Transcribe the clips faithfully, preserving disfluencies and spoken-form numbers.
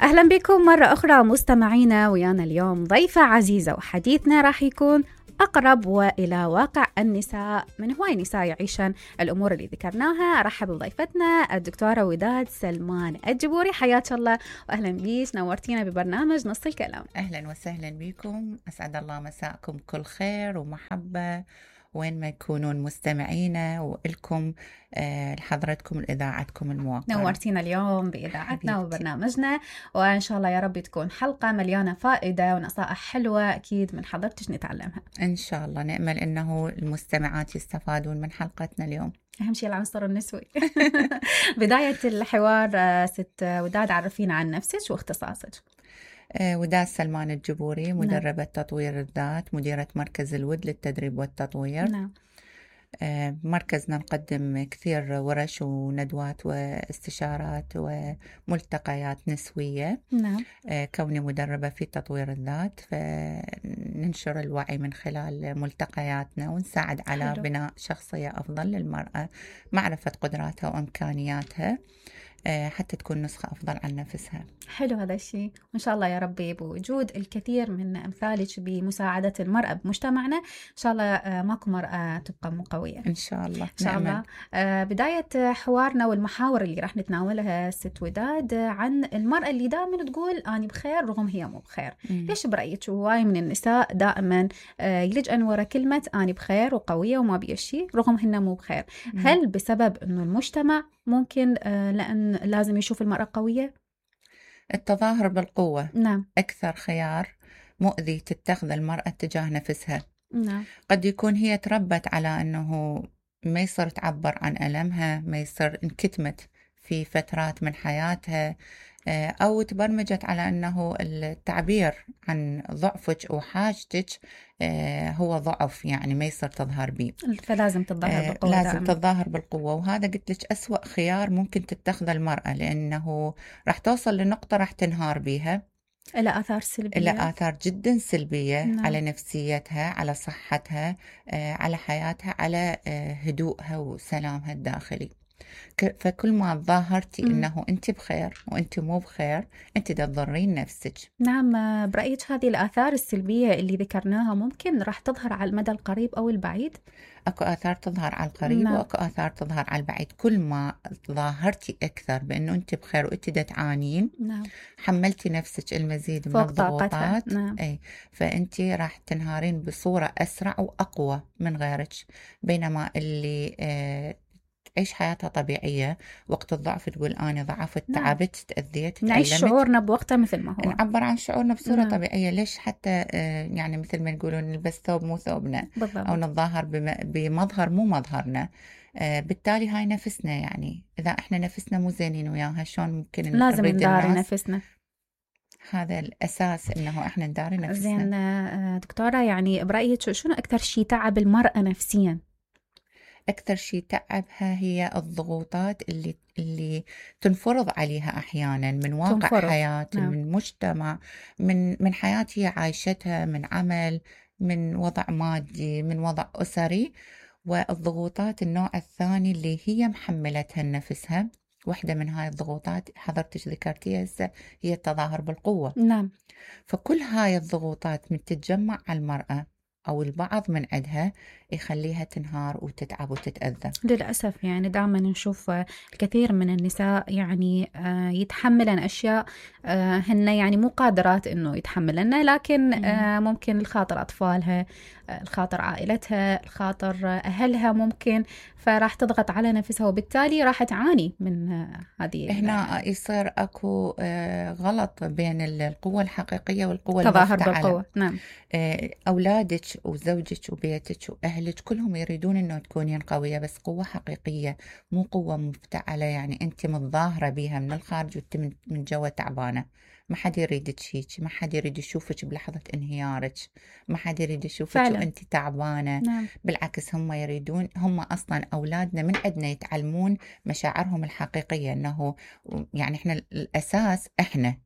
أهلا بكم مرة أخرى مستمعينا، ويانا اليوم ضيفة عزيزة، وحديثنا راح يكون أقرب وإلى واقع النساء من هواي نساء يعيشن الأمور اللي ذكرناها. أرحب بضيفتنا الدكتورة وداد سلمان الجبوري، حياك الله وأهلا بيش، نورتينا ببرنامج نص الكلام. أهلا وسهلا بكم، أسعد الله مساءكم كل خير ومحبة وين ما يكونون مستمعينا، وإلكم آه لحضرتكم الإذاعتكم الموقرة. نورتينا اليوم بإذاعتنا وبرنامجنا، وإن شاء الله يا رب تكون حلقة مليانة فائدة ونصائح حلوة أكيد من حضرتك نتعلمها إن شاء الله. نأمل أنه المستمعات يستفادون من حلقتنا اليوم. أهم شيء العنصر النسوي. بداية الحوار ست وداد، عرفينا عن نفسك واختصاصك. وداد سلمان الجبوري، مدربة نعم. تطوير الذات، مديرة مركز الود للتدريب والتطوير. نعم. مركزنا نقدم كثير ورش وندوات واستشارات وملتقيات نسوية. نعم. كوني مدربة في تطوير الذات، فننشر الوعي من خلال ملتقياتنا ونساعد على حلو. بناء شخصية أفضل للمرأة، معرفة قدراتها وإمكانياتها حتى تكون نسخة أفضل عن نفسها. حلو هذا الشيء، وإن شاء الله يا ربي بوجود الكثير من أمثالك بمساعدة المرأة بمجتمعنا إن شاء الله ماكو مرأة تبقى مو قوية إن شاء الله. إن شاء الله. بداية حوارنا والمحاور اللي راح نتناولها ست وداد عن المرأة اللي دائما تقول أنا بخير رغم هي مو بخير. م. ليش برأيك هواي من النساء دائما يلجأن ورا كلمة أنا بخير وقوية وما بي شيء رغم هن مو بخير؟ م. هل بسبب إنه المجتمع ممكن لأن لازم يشوف المرأة قوية؟ التظاهر بالقوة نعم. أكثر خيار مؤذي تتخذ المرأة تجاه نفسها. نعم. قد يكون هي تربت على أنه ما يصير تعبر عن ألمها، ما يصير انكتمت في فترات من حياتها، أو تبرمجت على أنه التعبير عن ضعفك أو حاجتك هو ضعف، يعني ما يصير تظهر به، فلازم تظاهر بالقوة. لازم دائما. تظاهر بالقوة، وهذا قلت لك أسوأ خيار ممكن تتخذ المرأة، لأنه راح توصل لنقطة راح تنهار بيها إلى آثار سلبية، إلى آثار جدا سلبية. نعم. على نفسيتها، على صحتها، على حياتها، على هدوءها وسلامها الداخلي. فكل ما ظاهرتي م. إنه أنت بخير وأنت مو بخير، أنت تضرين نفسك. نعم. برأيك هذه الآثار السلبية اللي ذكرناها ممكن راح تظهر على المدى القريب أو البعيد؟ أكو آثار تظهر على القريب. نعم. وأكو آثار تظهر على البعيد. كل ما ظاهرتي أكثر بأنه أنت بخير وأنت دا تعانين. نعم. حملتي نفسك المزيد من الضغوطات. نعم. أي فأنت راح تنهارين بصورة أسرع وأقوى من غيرك، بينما اللي آه تعيش حياتها طبيعية وقت الضعف تقول أنا ضعفت. نعم. تعبت، تأذيت، نعيش شعورنا بوقتها مثل ما هو، نعبر عن شعورنا بصورة نعم. طبيعية. ليش حتى يعني مثل ما يقولون نلبس ثوب مو ثوبنا. بالضبط. أو نتظاهر بمظهر مو مظهرنا. بالتالي هاي نفسنا، يعني إذا إحنا نفسنا مو زينين وياها شلون ممكن لازم نداري نفسنا. هذا الأساس إنه إحنا نداري نفسنا. زين دكتورة، يعني برأيك شنو أكثر شيء تعب المرأة نفسياً؟ أكثر شيء تعبها هي الضغوطات اللي اللي تنفرض عليها أحيانا من واقع تنفرض. حياة. نعم. من مجتمع، من من حياة هي عايشتها، من عمل، من وضع مادي، من وضع أسري. والضغوطات النوع الثاني اللي هي محملتها لنفسها، واحدة من هاي الضغوطات حضرتك ذكرتيها هسه هي التظاهر بالقوة. نعم. فكل هاي الضغوطات من تتجمع على المرأة أو البعض من عندها يخليها تنهار وتتعب وتتأذى. للأسف يعني دائما نشوف الكثير من النساء يعني يتحملن أشياء هن يعني مو قادرات إنه يتحملنها، لكن ممكن الخاطر أطفالها، الخاطر عائلتها، الخاطر أهلها ممكن، فراح تضغط على نفسها وبالتالي راح تعاني من هذه. هنا يصير أكو غلط بين القوة الحقيقية والقوة تظاهر المفتعلة. بالقوة. نعم. أولادك وزوجك وبيتك وأهلك كلهم يريدون أنه تكونين قوية، بس قوة حقيقية مو قوة مفتعلة، يعني أنت متظاهرة بيها من الخارج وأنت من جوا تعبانة. ما حد يريد هيك، ما حد يريد يشوفك بلحظة انهيارك، ما حد يريد يشوفك وأنت تعبانة. نعم. بالعكس هم يريدون، هم أصلا أولادنا من عندنا يتعلمون مشاعرهم الحقيقية، أنه يعني إحنا الأساس إحنا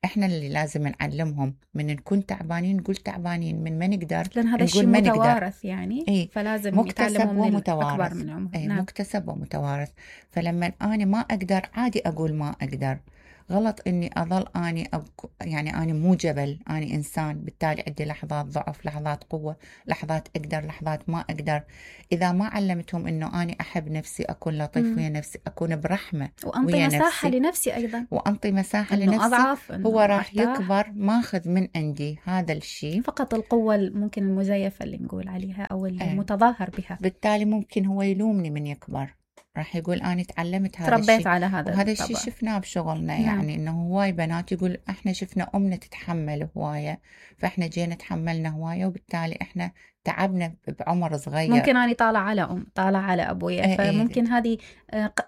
احنا اللي لازم نعلمهم، من نكون تعبانين نقول تعبانين، من ما نقدر لأن هذا الشيء متوارث يعني. ايه؟ فلازم يتعلموا من الأكبر منهم. ايه؟ نعم. مكتسب ومتوارث. فلما أنا ما أقدر عادي أقول ما أقدر، غلط إني أظل أني أبك يعني أنا مو جبل، أنا إنسان، بالتالي عندي لحظات ضعف، لحظات قوة، لحظات أقدر، لحظات ما أقدر. إذا ما علمتهم إنه أنا أحب نفسي، أكون لطيف ويا نفسي، أكون برحمة وأنطي ويا مساحة نفسي لنفسي أيضا، وأنطي مساحة إنه لنفسي، أضعف، هو إنه راح أرتاح. يكبر ماخذ من عندي هذا الشيء، فقط القوة ممكن المزيفة اللي نقول عليها أو المتظاهر بها. بالتالي ممكن هو يلومني من يكبر، راح يقول أنا تعلمت هذا تربيت الشيء على هذا وهذا الطبع. الشيء شفناه بشغلنا. نعم. يعني إنه هواي بنات يقول إحنا شفنا أمنا تتحمل هواية، فإحنا جينا تحملنا هواية، وبالتالي إحنا تعبنا بعمر صغير. ممكن أنا طالع على أم، طالع على أبويا، ايه فممكن ايه هذه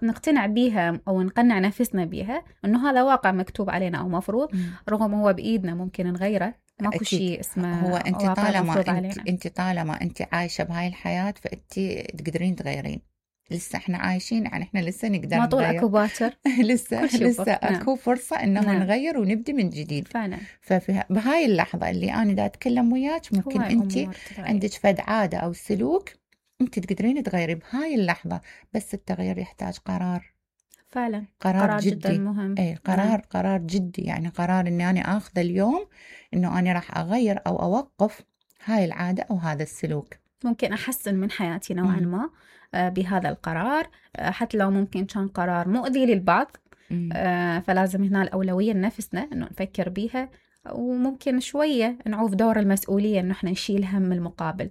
نقتنع بيها أو نقنع نفسنا بيها إنه هذا واقع مكتوب علينا أو مفروض، رغم هو بإيدنا ممكن نغيره، ماكو شيء اسمه هو أنت واقع طالما مفروض أنت, علينا. أنت طالما أنت عايشة بهاي الحياة فأنت تقدرين تغيرين. لسه احنا عايشين، يعني احنا لسه نقدر ما طول نغير. اكو باكر. لسه لسه اكو فرصة انه نعم. نغير ونبدي من جديد فعلا. ففي بهاي اللحظة اللي انا دا اتكلم وياك ممكن انت عندك فد عادة او سلوك انت تقدرين تغيري بهاي اللحظة، بس التغيير يحتاج قرار. فعلا قرار, قرار جدي جدا مهم. اي قرار نعم. قرار جدي، يعني قرار اني انا اخذ اليوم انه انا راح اغير او اوقف هاي العادة او هذا السلوك. ممكن احسن من حياتي نوعا ما بهذا القرار، حتى لو ممكن كان قرار مؤذي للبعض. آه فلازم هنا الأولوية لنفسنا إنه نفكر بيها، وممكن شوية نعوف دور المسؤولية إنه إحنا نشيل هم المقابل.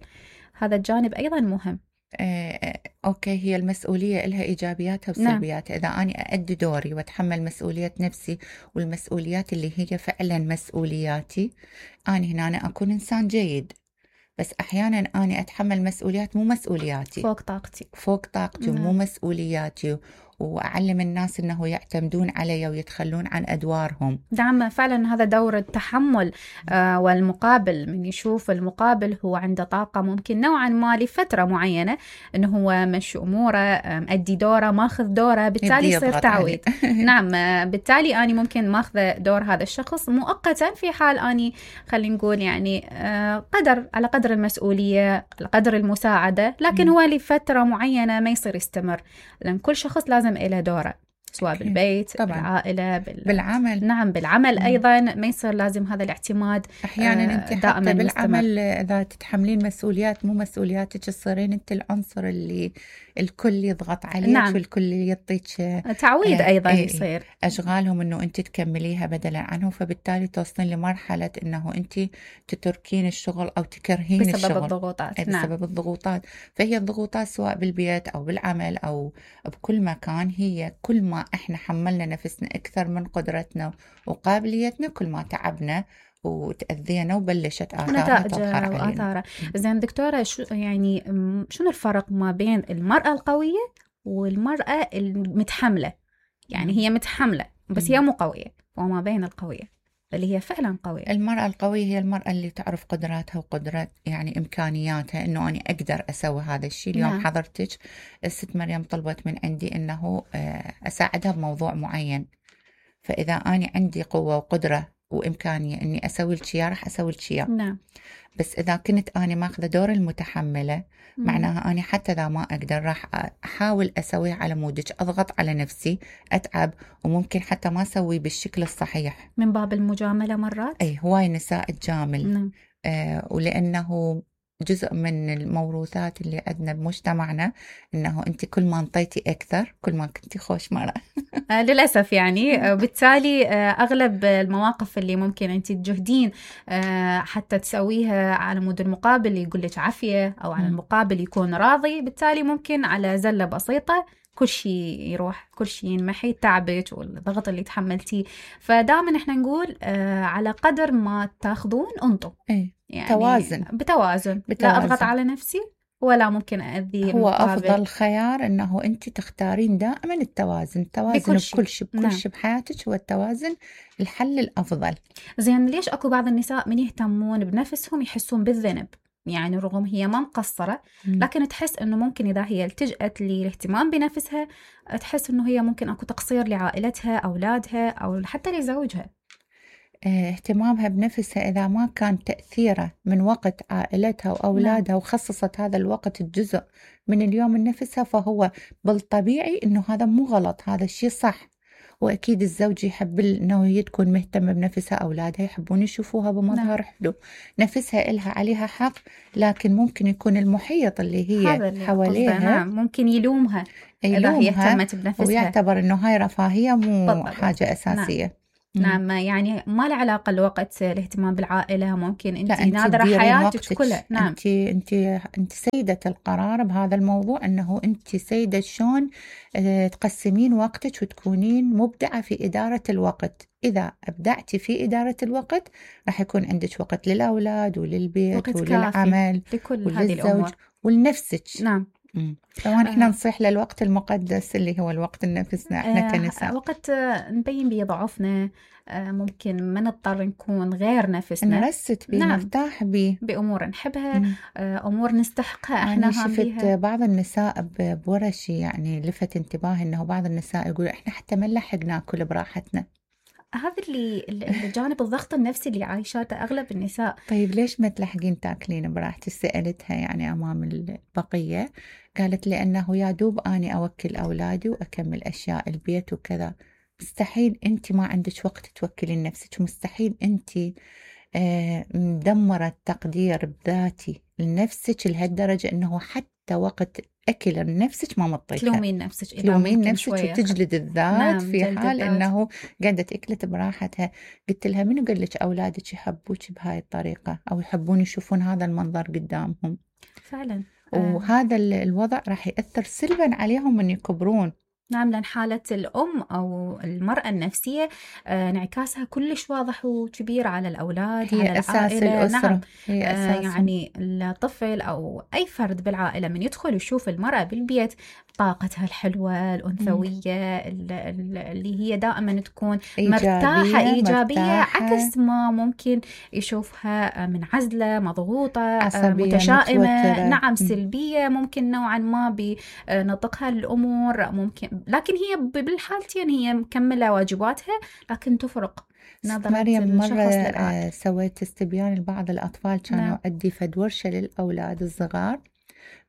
هذا الجانب أيضا مهم. آه، أوكي، هي المسؤولية لها إيجابياتها وسلبياتها. نعم. إذا أنا أؤدي دوري وأتحمل مسؤولية نفسي والمسؤوليات اللي هي فعلا مسؤولياتي، أنا هنا أنا أكون إنسان جيد. بس أحيانا أنا أتحمل مسؤوليات مو مسؤولياتي، فوق طاقتي فوق طاقتي ومو مسؤولياتي، وأعلم الناس أنه يعتمدون علي ويتخلون عن أدوارهم. نعم فعلا هذا دور التحمل. آه والمقابل، من يشوف المقابل هو عنده طاقة ممكن نوعا ما لفترة معينة أنه هو مشي أموره، مأدي دوره، ماخذ دوره، بالتالي يصير تعويض. نعم بالتالي أنا ممكن ماخذ دور هذا الشخص مؤقتا، في حال أني خلينا نقول يعني آه قدر على قدر المسؤولية، على قدر المساعدة، لكن م. هو لفترة معينة ما يصير يستمر، لأن كل شخص لازم إله دوره، سواء بالبيت طبعا. بالعائلة بال... بالعمل. نعم بالعمل أيضا ما يصير لازم هذا الاعتماد. أحيانا أنت حتى بالعمل إذا تتحملين مسؤوليات مو مسؤولياتك تصيرين أنت العنصر اللي الكل يضغط عليك. نعم. والكل يعطيك تعويض آه أيضا. آه يصير أشغالهم أنه أنت تكمليها بدلا عنه، فبالتالي توصلين لمرحلة أنه أنت تتركين الشغل أو تكرهين بسبب الشغل الضغوطات. بسبب نعم. الضغوطات. فهي الضغوطات سواء بالبيت أو بالعمل أو بكل مكان، هي كل ما إحنا حملنا نفسنا أكثر من قدرتنا وقابليتنا كل ما تعبنا وتأذينا وبلشت آثارها تظهر علينا. زين دكتورة، شو يعني شنو الفرق ما بين المرأة القوية والمرأة المتحملة؟ يعني هي متحملة بس هي مو قوية، وما بين القوية اللي هي فعلا قوية. المرأة القوية هي المرأة اللي تعرف قدراتها وقدرات يعني إمكانياتها، إنه أنا أقدر أسوي هذا الشيء. اليوم نعم. حضرتك الست مريم طلبت من عندي إنه أساعدها بموضوع معين، فإذا أنا عندي قوة وقدرة وإمكانية إني أسوي الشيء راح أسوي الشيء. نعم. بس إذا كنت أنا ماخذة دور المتحملة مم. معناها أنا حتى إذا ما أقدر راح أحاول أسويه على مودك، أضغط على نفسي، أتعب، وممكن حتى ما أسوي بالشكل الصحيح من باب المجاملة مرات. أي هواي نساء تجامل. نعم. آه ولأنه جزء من الموروثات اللي عندنا بمجتمعنا إنه أنت كل ما انطيتي أكثر كل ما كنتي خوش مرة. آه للأسف يعني. بالتالي آه أغلب المواقف اللي ممكن أنت تجهدين آه حتى تسويها على مود المقابل يقول لك عافية، أو على المقابل يكون راضي، بالتالي ممكن على زلة بسيطة كل شيء يروح، كل شيء ينمحي، تعبك والضغط اللي تحملتيه. فدائما احنا نقول آه على قدر ما تاخذون انطوا. ايه. يعني توازن. بتوازن. بتوازن لا أضغط على نفسي ولا ممكن أذي. هو أفضل خيار أنه أنت تختارين دائما التوازن. التوازن بكل شيء بكل شيء, بكل نعم. شيء بحياتك هو التوازن الحل الأفضل. زين ليش أكو بعض النساء من يهتمون بنفسهم يحسون بالذنب؟ يعني رغم هي ما مقصرة لكن تحس أنه ممكن إذا هي التجأت للاهتمام بنفسها تحس أنه هي ممكن أكو تقصير لعائلتها، أولادها، أو حتى لزوجها. اهتمامها بنفسها إذا ما كان تأثيره من وقت عائلتها وأولادها نعم. وخصصت هذا الوقت الجزء من اليوم لنفسها، فهو بالطبيعي إنه هذا مو غلط، هذا الشيء صح. وأكيد الزوج يحب أنه هي تكون مهتمة بنفسها، أولادها يحبون يشوفوها بمظهر نعم. حلو، نفسها إلها عليها حق، لكن ممكن يكون المحيط اللي هي اللي حواليها نعم ممكن يلومها يلومها إذا هي اهتمت بنفسها، ويعتبر أنه هاي رفاهية مو بالضبط. حاجة أساسية. نعم. نعم يعني ما له علاقة الوقت الاهتمام بالعائلة، ممكن انت أنت ناظرة حياتك كلها. نعم انت انت انت سيدة القرار بهذا الموضوع، انه انت سيدة شلون تقسمين وقتك وتكونين مبدعة في إدارة الوقت. إذا أبدعتي في إدارة الوقت راح يكون عندك وقت للأولاد وللبيت وللعمل وللزوج ولنفسك. نعم طبعا احنا آه. نصيح للوقت المقدس اللي هو الوقت لنفسنا احنا آه كنساء. وقت نبين بيه ضعفنا، آه ممكن ما نضطر نكون غير نفسنا، نرست بيه، نرتاح بيه بأمور نحبها، آه أمور نستحقها احنا. أنا شفت بعض النساء بورشي يعني لفت انتباهي انه بعض النساء يقول احنا حتى ما نلحق ناكل براحتنا. هذا اللي الجانب الضغط النفسي اللي عايشاته أغلب النساء. طيب ليش ما تلحقين تاكلين براحتك؟ سألتها يعني أمام البقية، قالت لأنه يا دوب أني أوكل أولادي وأكمل أشياء البيت وكذا. مستحيل أنت ما عندك وقت توكلين نفسك، مستحيل أنت مدمرة التقدير بذاتي لنفسك لهالدرجة أنه حتى وقت أكل لنفسك ما مطيتها، تلومين نفسك تلومين نفسك وتجلد الذات. نعم في حال الذات. أنه قاعدة أكلت براحتها. قلت لها منو قال لك أولادك يحبوك بهاي الطريقة أو يحبون يشوفون هذا المنظر قدامهم؟ فعلا وهذا الوضع راح يأثر سلبا عليهم من يكبرون. نعم لأن حالة الأم أو المرأة النفسية انعكاسها كلش واضح وكبير على الأولاد، هي على أساس العائلة. الأسرة. نعم هي أساس. يعني الطفل أو أي فرد بالعائلة من يدخل يشوف المرأة بالبيت طاقتها الحلوة الأنثوية اللي هي دائما تكون إيجابية مرتاحة إيجابية مرتاحة. عكس ما ممكن يشوفها منعزلة مضغوطة متشائمة متوترة. نعم سلبية ممكن نوعا ما بنطقها الأمور ممكن، لكن هي بالحالتين هي مكملة واجباتها لكن تفرق نظرة مريم. مرة سويت استبيان لبعض الأطفال كانوا نعم. أدي فد ورشة للأولاد الصغار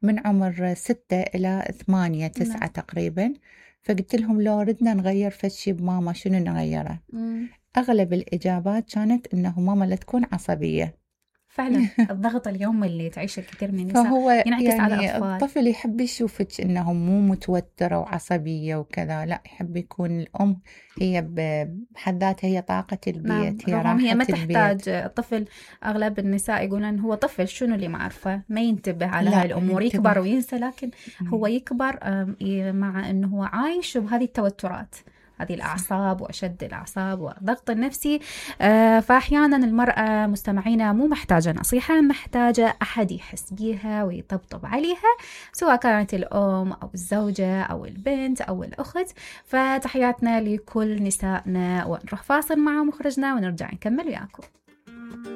من عمر ستة إلى ثمانية تسعة نعم. تقريبا. فقلت لهم لو ردنا نغير فشي بماما شنو نغيره؟ مم. أغلب الإجابات كانت إنه ماما لا تكون عصبية. فعلا الضغط اليوم اللي تعيشه الكثير من النساء فهو ينعكس يعني على الأطفال. الطفل يحب يشوفك إنه مو متوترة وعصبية وكذا، لا يحب يكون الأم هي بحد ذاتها هي طاقة البيت. نعم. هي راحة هي ما تحتاج الطفل. أغلب النساء يقولون هو طفل شنو اللي ما عارفه، ما ينتبه على هاي الأمور، يكبر وينسى، لكن هو يكبر مع إنه هو عايش بهذه التوترات، هذه الأعصاب وأشد الأعصاب والضغط النفسي. آه فأحيانا المرأة مستمعينا مو محتاجة نصيحة، محتاجة أحد يحس بيها ويطبطب عليها، سواء كانت الأم أو الزوجة أو البنت أو الأخت. فتحياتنا لكل نسائنا، ونروح فاصل مع مخرجنا ونرجع نكمل وياكم.